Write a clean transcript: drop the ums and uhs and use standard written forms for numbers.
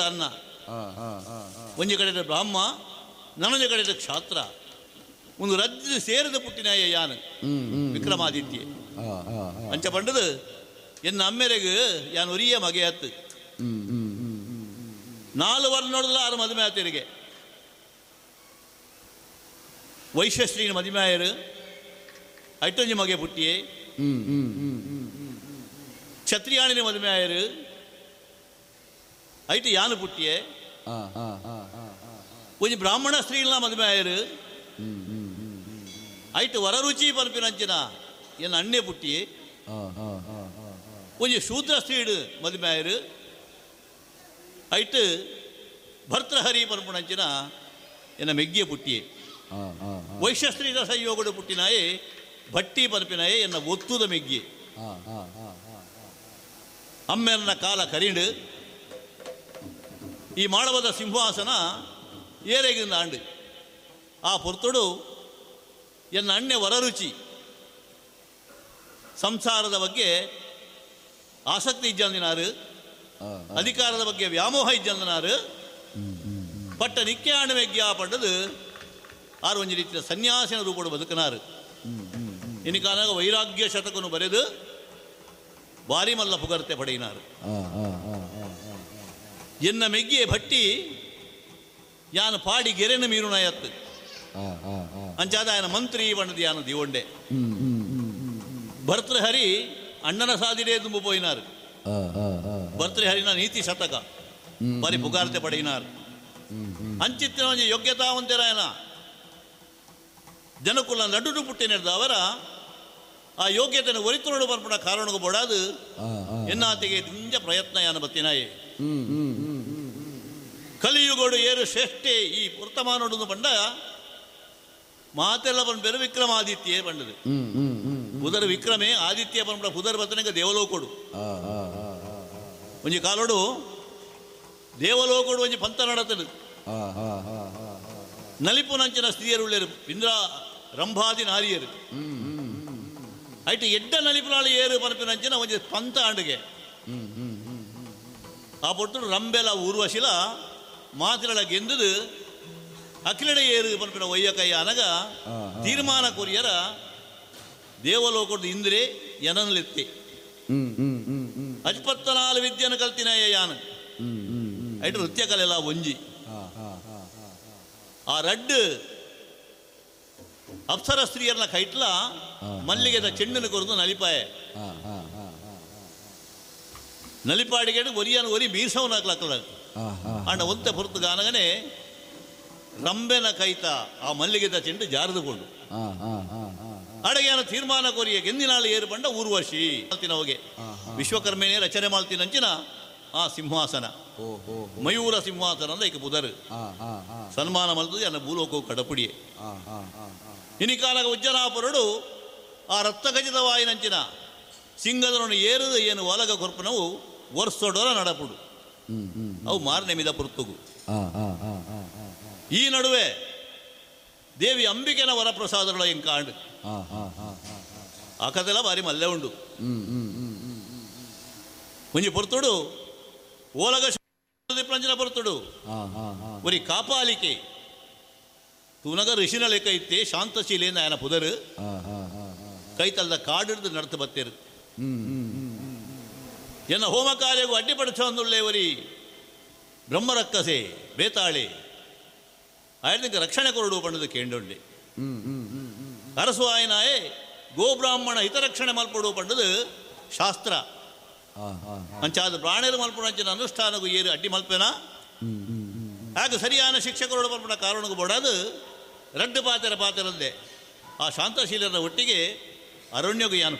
ಅನ್ನ ಒಂಜಿ ಕಡೆ ಬ್ರಾಹ್ಮ ನನೊಂಜಿ ಕಡೆ ಕ್ಷಾತ್ರ ಒಂದು ರಜ್ಜು ಸೇರಿದ ಪುಟ್ಟಿನಾಯ ಯಾನು ವಿಕ್ರಮಾದಿತ್ಯ ಅಂಚ ಪಂಡದು ಎನ್ನ ಅಮ್ಮೆರೆಗು ಯಾನ್ ಒರಿಯ ಮಗೆಯತ್ತು 4 ವರ್ಷ ನೋಡಲ್ಲ 6 ಮದುವೆ ಆತರಿಗೆ ವೈಶ್ಯಶ್ರೀನ ಮದುವೆ ಆಯರು ಐಟೊಂಜಿ ಮಗೆ ಪುಟ್ಟಿಯೇ ಕ್ಷತ್ರಿಯಾಣಿನ ಮದುವೆ ಆಯರು ಐಟು ಯಾನು ಪುಟ್ಟಿಯೇ ಒಂಜಿ ಬ್ರಾಹ್ಮಣ ಸ್ತ್ರೀಲ ಮದುವೆ ಆಯರು ಐಟು ವರರುಚಿ ಪನ್ಪಿನಂಚಿನ ಎನ್ನ ಅಣ್ಣೆ ಪುಟ್ಟಿಯೇ ಒಂಜಿ ಶೂದ್ರ ಸ್ತ್ರೀಡು ಮದುವೆ ಆಯರು ಐಟು ಭರ್ತೃಹರಿ ಪನ್ಪುಣಂಚಿನ ಎನ್ನ ಮೆಗ್ಗಿಯ ಪುಟ್ಟಿಯೇ ವೈಶ್ಯಸ್ತ್ರೀದ ಸಂಯೋಗಡು ಪುಟ್ಟಿನಾಯೇ ಭಟ್ಟಿ ಪನ್ಪಿನಾಯೇ ಎನ್ನ ಒತ್ತುದ ಮೆಗ್ಗಿ ಅಮ್ಮೆರ್ನ ಕಾಲ ಕರಿಂಡು ಈ ಮಾಳವದ ಸಿಂಹಾಸನ ಏರೆಗಿಂದ ಆಂಡು ಆ ಪೊರ್ತುಡು ಎನ್ನ ಅಣ್ಣೆ ವರರುಚಿ ಸಂಸಾರದ ಬಗ್ಗೆ ಆಸಕ್ತಿ ಇಜ್ಜಂದಿನಾರು ಅಧಿಕಾರದ ಬಗ್ಗೆ ವ್ಯಾಮೋಹ ಇಜ್ಜಂದಿನಾರು ಪಟ್ಟ ನಿಕ್ಕೆ ಆಂಡ ಮೆಗ್ಗಿ ಆ ಪಡ್ಡದು ಆರು ಒಂಜಿ ರೀತಿಯ ಸನ್ಯಾಸಿನ ರೂಪಡು ಬದುಕನಾರು ಇನಿಕಾನಾಗ ವೈರಾಗ್ಯ ಶತಕನು ಬರೆದು ಬಾರಿ ಮಲ್ಲ ಪುಗರ್ತೆ ಪಡೆಯಿನಾರು ಎನ್ನ ಮೆಗ್ಗಿಯ ಭಟ್ಟಿ ಯಾನು ಪಾಡಿ ಗೆರೆನ ಮೀರುನಾಯತ್ತು ಅಂಚಾದ ಆಯನ ಮಂತ್ರಿ ಬಣ್ಣದ ಯಾನು ದಿವೊಂಡೆ ಭರ್ತೃಹರಿ ಅಣ್ಣನ ಸಾದಿರೇ ತುಂಬು ಪೋಯಿನಾರು ಭರ್ತೃಹರಿನ ನೀತಿ ಶತಕ ಬಾರಿ ಪುಗಾರ್ತೆ ಪಡೆಯಿನಾರು ಅಂಚಿತ್ತಿನ ಒಂಜಿ ಯೋಗ್ಯತಾವಂತೆರಾಯನ ಜನಕುಲ ನಡುಡು ಪುಟ್ಟಿನೆಡ್ದ ಅವರ ಆ ಯೋಗ್ಯತೆಯನ್ನು ಒರಿತುನೋಡು ಬರ್ಪಣ ಕಾರಣಗೂ ಬೋಡಾದು ಎನ್ನಾತಿಗೆ ದಿಂಜ ಪ್ರಯತ್ನ ಯಾನ ಬತ್ತಿನಾಯೆ ಕಲಿಯುಗೋಡು ಏರು ಶ್ರೇಷ್ಠೆ ಈ ವರ್ತಮಾನೋಡು ಬಂಡ ಮಾತೆಲ್ಲ ಬಂದ ವಿಕ್ರಮಾದಿತ್ಯೇ ಬಂಡದು ಪುದರ್ ವಿಕ್ರಮೇ ಆದಿತ್ಯ ಬಂಡ ಪುದರ್ ಬತ್ತನಿಗೆ ದೇವಲೋಕೋಡು ಒಂಜಿ ಕಾಲೋಡು ದೇವಲೋಕೋಡು ಒಂಜಿ ಪಂಥ ನಡತದು ನಲಿಪುನಂಚಿನ ಸ್ತ್ರೀಯರುಳ್ಳರು ಇಂದ್ರ ರಂಭಾದಿ ನಾರಿಯರು ಐಟು ಎಡ್ಡ ನಲಿಪುನಾಳು ಏರು ಪನಪಿನಂಚಿನ ಒಂಜಿ ಪಂಥ ಆಂಡುಗೆ ಆ ಪೊಟ್ಟು ರಂಬೆಲ ಊರ್ವಶಿಲ ಮಾತಿರಳ ಗೆಂದುದು ಅಖಿಲಡೆ ಏರು ಪನಪಿನ ಒಯ್ಯಕಯ್ಯ ಅನಗ ತೀರ್ಮಾನ ಕೊರಿಯರ ದೇವಲೋಕದ ಇಂದ್ರೆ ಎನನ್ಲೆತ್ತಿ ಅಜ್ಪತ್ತನಾಲು ವಿದ್ಯೆಯನ್ನು ಕಲ್ತಿನಯ್ಯ ಯಾನು ಐಟು ನೃತ್ಯ ಕಲೆಲ್ಲ ಒಂಜಿ ಆ ರಡ್ಡು ಅಪ್ಸರ ಸ್ತ್ರೀಯರ್ನ ಕೈಟ್ಲ ಮಲ್ಲಿಗೆದ ಚೆಂಡನ್ನು ಕೊರದು ನಲಿಪಾಯ ನಲಿಪಾಡಿಗೆ ಒರಿಯನ ಒರಿ ಮೀರ್ಸವನಾಗ್ಲಾಕಲ್ಲ ಅಂಡ ಒಂತೆ ಹೊರತು ಗಾನಗನೆ ರಂಬೆನ ಕೈತ ಆ ಮಲ್ಲಿಗೆದ ಚೆಂಡು ಜಾರದುಕೊಂಡು ಅಡಗೆನ ತೀರ್ಮಾನ ಕೊರಿಯ ಗೆಂದಿನಾಳು ಏರು ಬಂಡ ಊರ್ವಶಿ ಹೋಗೆ ವಿಶ್ವಕರ್ಮೇನೆ ರಚನೆ ಮಾಡ್ತೀನಂಚಿನ ಆ ಸಿಂಹಾಸನ ಮಯೂರ ಸಿಂಹಾಸನ ಅಂದ ಈಗ ಪುದರ್ ಸನ್ಮಾನ ಮಲ್ತದೆ ಅನ್ನ ಭೂಲೋಕವು ಕಡಪುಡಿಯೆ ಇನಿಕಾಲಗ ಉಜ್ಜನಾಪುರಡು ಆ ರಕ್ತಗಜಿತವಾಯಿನಂಚಿನ ಸಿಂಗದರನ್ನು ಏರುದು ಏನು ಒಲಗ ಕೊರ್ಪನವು ವರ್ಷೊಡೊರ ನಡಪುಡು ಅವು ಮಾರನೆಮಿದ ಪುರ್ತುಗು. ಈ ನಡುವೆ ದೇವಿ ಅಂಬಿಕೆನ ವರಪ್ರಸಾದಗಳ ಎಂಕಾಂಡು ಆ ಕಥೆಲ್ಲ ಭಾರಿ ಮಲ್ಲೆ ಉಂಡು. ಒಂಜಿ ಪೊರ್ತುಡು ಓಲಗ ಪ್ರಂಜನ ಪೊರ್ತುಡು ಒರಿ ಕಾಪಾಲಿಕೆ ತೂನಗ ಋಷಿನ ಲೆಕ್ಕ ಇತ್ತೆ ಶಾಂತಶೀಲೆ ನಾಯನ ಪುದರು ಕೈತಲ್ದ ಕಾಡಿಡ್ದು ನಡ್ತು ಬತ್ತೇರು ಎನ್ನ ಹೋಮ ಕಾರ್ಯಗೂ ಅಡ್ಡಿಪಡಿಸೊಂದುಳ್ಳೆ ಒರಿ ಬ್ರಹ್ಮರಕ್ಕಸೆ ಬೇತಾಳೆ ಆಯ್ತು ರಕ್ಷಣೆ ಕೊರಡು ಬಣ್ಣದ ಕೇಂಡೊಂಡೆ ಅರಸು ಆಯನಾಯೇ ಗೋಬ್ರಾಹ್ಮಣ ಹಿತರಕ್ಷಣೆ ಮಲ್ಪಡು ಪಂಡದು ಶಾಸ್ತ್ರ ಅಂಚಾದ ಪ್ರಾಣಿಯರು ಮಲ್ಪುಣಂಚಿನ ಅನುಷ್ಠಾನಗೂ ಏರು ಅಡ್ಡಿ ಮಲ್ಪೇನ ಆಗ ಸರಿಯಾದ ಶಿಕ್ಷಕರೋಡು ಮಲ್ಪುಣ ಕಾರಣಗೂ ಬೋಡಾದು ರಡ್ಡು ಪಾತೆರ ಪಾತೆರಂದೆ ಆ ಶಾಂತಶೀಲರ ಒಟ್ಟಿಗೆ ಅರಣ್ಯಗೂ ಯಾನು